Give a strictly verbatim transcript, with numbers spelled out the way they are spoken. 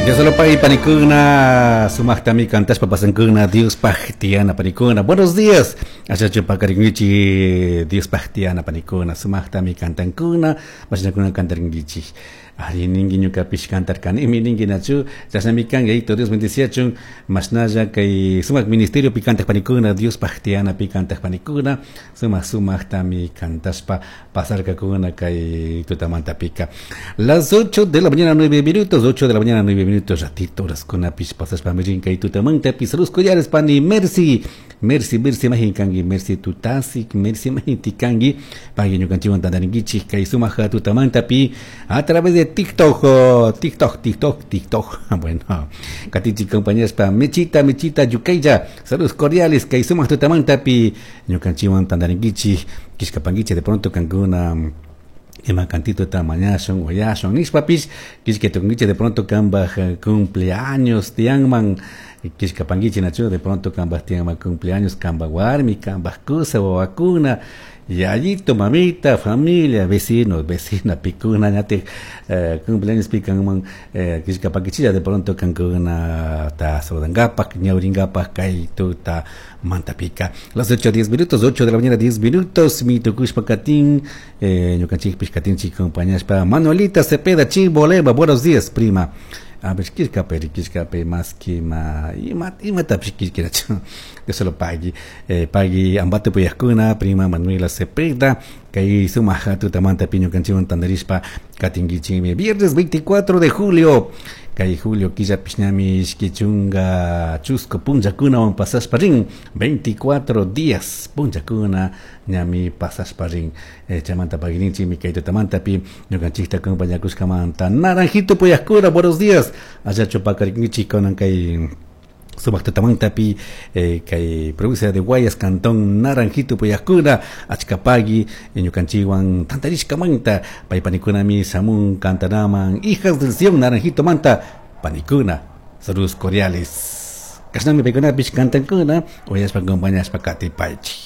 Dios panikuna, sumaqtami kantashpa pasankuna, Diospaj tiyana panikuna. Buenos días. Achachu pakarinkichik Diospaj tiyana panikuna, sumaqtami kantankuna, mashnakuna kantarinkichik. Ari ninki ñukapish kantarkanimi ninki nachu, chashnami kan yayito Dios bendiciachun, mashnalla kay sumak ministerio pi kantaq panikuna, Diospaj tiyanapi kantaq panikuna, sumak sumaqtami kantashpa pasarkakuna kay tutamantapika. Las ocho de la mañana nueve minutos, ocho de la mañana nueve minutos, ratito horaskunapish pasashpa mirin kay tutamantapi. Saludos cordiales pani Mercy, Mercy, Mercy majin kanki, Mercy tutasik, Mercy majin tikanki, pagui ñukanchikwan tantarinkichik kay sumak tutamantapi a través de TikTok, oh, TikTok, TikTok, TikTok. Bueno, katichik compañeras pa Mechita, Mechita, Yucaya, saludos cordiales kay sumak tutamantapi ñukanchikwan tantarinkichik, kishkapankichik de pronto kankuna ima cantito ta mañashun uyashun nishpapish kishka tukunkichik de pronto kambaj cumpleaños tiyanman kishkapankichik nachu de pronto kambaj tiyanman cumpleaños kambaj warmi kambaj kusa wawakuna yayito mamita familia vecinos vecina pikuna ñatik eh, cumpleaños pikanman eh, kishkapankichilla de pronto kankuna ta saludangapak ñawringapak kay tuta mantapika. Las ocho diez minutos, ocho de la mañana diez minutos, mi tukushpa katin eh, ñukanchikpish katinchik compañashpa Manuelita Cepeda Chimbolema, buenos días prima. A ver, kishkape, kishkape, más que ma, ima, imatapish kishkirachu. Dios lo pagui, eh, pagui ambate puyajkuna, prima Manuela Cepeda, kay sumak tutamanta ñukanchikwan tantarishpa katinkichikmi. Viernes veinticuatro de julio, kay julio killapish ñami ishki chunka chusku punllakunawan pasashpa rin, veinticuatro días punllakuna ñami pasashpa rin. Eh, chaymanta paguininchikmi kay tutamantapi ñukanchikta acompañakushkamanta. Naranjito puyajkuna, buenos días. Allachu pakarinkichik kunan kay sumak tutamantapi eh, kay provincia de Guayas, cantón Naranjito puyajkuna, achkapagui ñukanchikwan tantarishkamanta paypanikunami samun kantanaman Hijas del Sion Naranjito manta panikuna, saludos cordiales. Kashnami paykunapish kantankuna uyashpa acompañashpa katipaychik.